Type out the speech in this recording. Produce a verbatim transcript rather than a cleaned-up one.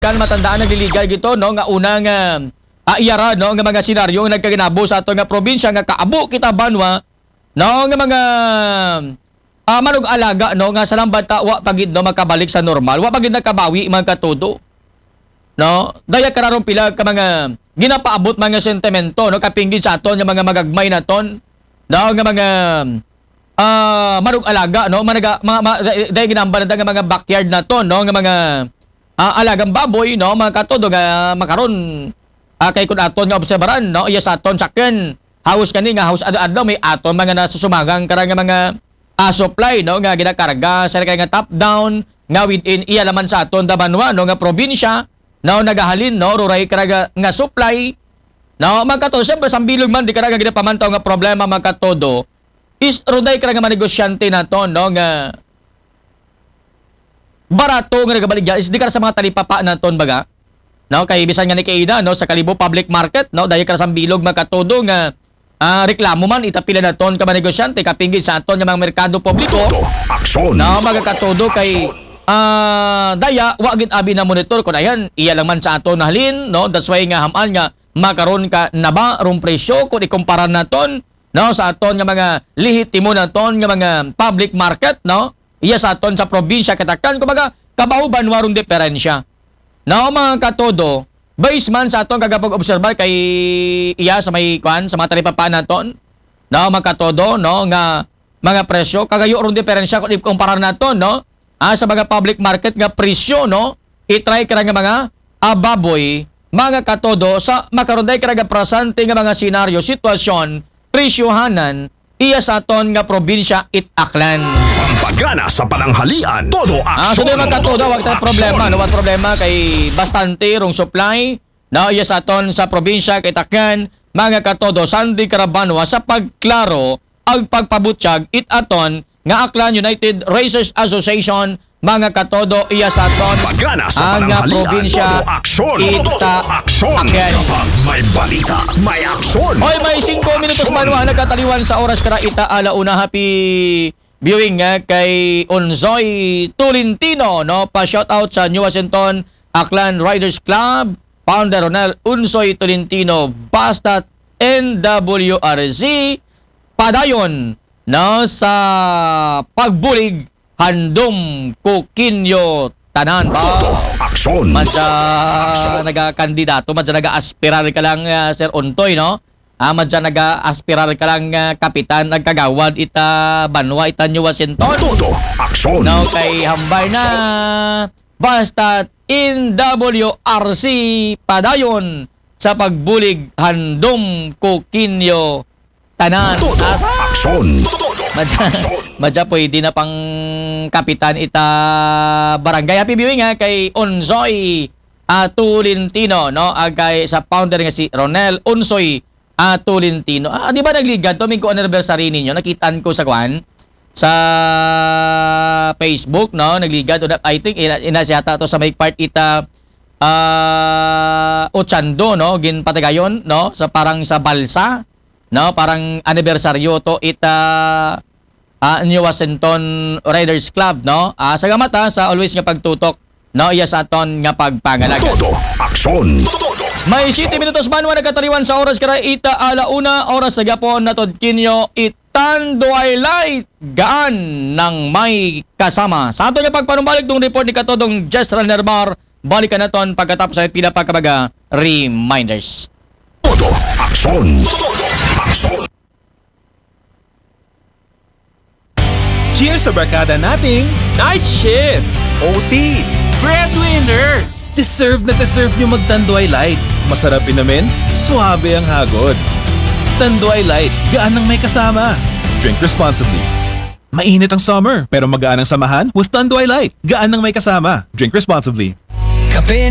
Kan matandaan, nagliligal gito, no, nga una nga, ah, iya ra, no, nga mga senaryo nga nagkaginabo sa aton nga probinsya nga kaabo kita banwa, no, nga mga, ah, manug-alaga, no, nga sa lang banta wa pa gid, no, makabalik sa normal, wa pa gid nakabawi, mga katodo, no. Daya kararong pila ka mga ginapaabot, mga sentimento, no, kapinggid sa aton nga mga magagmay naton, no, nga mga, ah, manug-alaga, no, managa, mga, mga, daya ginambal naton nga mga backyard naton, no, nga mga, ah, alagang baboy, no, mga katodo nga makaron, ah, kay kun aton nga obserbaran, no, iya sa aton sakyan, halos gani nga halos adlaw-adlaw may aton mga nasusumagang karang nga mga, ah, supply, no, nga ginakarga sa kay nga top down nga within iya naman sa aton da banwa, no, nga probinsya, no, nagahalin, no, ruray karaga nga supply, no, mga katodo. Siyempre, sa bilog man di karaga ginapamantaw nga problema, mga katodo, is ruday karaga mga negosyante naton, no, nga barato nga nagabaligya is di ka sa mga talipapa naton, baga, no? Kay bisan nga ni kaina, no, sa Kalibo Public Market, no, dahil ka sa bilog, mga katodo, nga, ah, reklamo man, itapila naton ka mga negosyante, kapinggid sa aton nga mga merkado publiko, Todo aksyon. No, mga katodo, kay, ah, daya, wa gid abi na monitor kung ayan, iya lang man sa aton nahalin, no? That's why nga haman nga makaron ka na ba rong presyo kung ikumpara naton, no, sa aton nga mga lehitimo naton nga mga public market, no? Iya sa aton sa probinsya katakan, kumbaga, kabaw banwa rong diferensya. No, mga katodo, base man sa aton kagapag-obserbar kay iya sa may kwan, sa mga talipapa naton, no, mga katodo, no, nga mga presyo, kagayo rong diferensya kung ikumpara naton, no, ah, sa mga public market nga presyo, no, i-try ka nga mga, ah, baboy, mga katodo, sa makaron day ka nga presente nga mga senaryo, sitwasyon, presyohanan, iya sa aton nga probinsya it Aklan. Pampagana sa pananghalian, todo Ah, aksyon, sige, mga katodo, todo wag tayo aksyon. Problema, no? Wag problema kay bastante rong supply, no? Iya sa aton sa probinsya kay Takyan, mga katodo, Sandy Carabanwa sa pagklaro ang pagpabutyag it aton nga Aklan United Racers Association, mga katodo, iya sa aton Pagana sa ang, ah, pananghalian, probinsya, todo aksyon, kita todo aksyon. Akin. Kapag may balita, may aksyon. Oy, may singko minutos man wa nagkataliwan sa oras kara ita ala una. Happy viewing nga kay Unsoy Tolentino, no? Pa shout out sa New Washington, Aklan Riders Club, founder Ronel Unsoy Tolentino, basta N W R Z, padayon, no, sa pagbulig, handom ko kinyo tanan. Ba? Todo aksyon. Madya nagakandidato, madya naga-aspirar ka lang, ah, Sir Ontoy, no? Ah, madya naga-aspirar ka lang, ah, kapitan, nagkagawad ita banwa, ita New Washington. Todo aksyon. No, kay hambal na, basta N W R Z padayon sa pagbulig, handom ko kinyo tanan. Todo aksyon. Todo madya, aksyon. Madya pwede na pang kapitan ita barangay. Happy viewing, ha, kay Onsoy, ah, Tolentino, no? Agay sa founder nga si Ronel Onsoy, ah, Tolentino. Ah, di ba nagligad to? May ko anniversary ninyo. Nakitaan ko sa kwan, sa Facebook, no? Nagligad. Una, I think, ina, ina siya ta to sa may part ita, ah, Ochando, no? Ginpatagayon, no? Sa parang sa Balsa, no? Parang anibersaryo to ita, ah, New Washington Riders Club, no? Ah, salamat, ha, sa always nga pagtutok, no? Iya sa aton nga pagpangalag. Todo aksyon. May siyete minutos man wa nagkataliwan sa oras kara ita ala una, oras sa gyapon natod kinyo it Tanduay Light, gaan nang may kasama. Sa ato nga pagpanumbalik tong report ni Katodong Jess Ranermar, balikan naton pagkatapos sa pila pa ka mga reminders. Todo aksyon. Todo aksyon. Cheers sa barkada nating Night shift! O T! Breadwinner! Deserve na deserve nyo mag Tanduay Light. Masarap inumin, suabe ang hagod. Tanduay Light, gaan ang may kasama. Drink responsibly. Mainit ang summer, pero magaan ang samahan with Tanduay Light. Gaan ang may kasama. Drink responsibly. Kape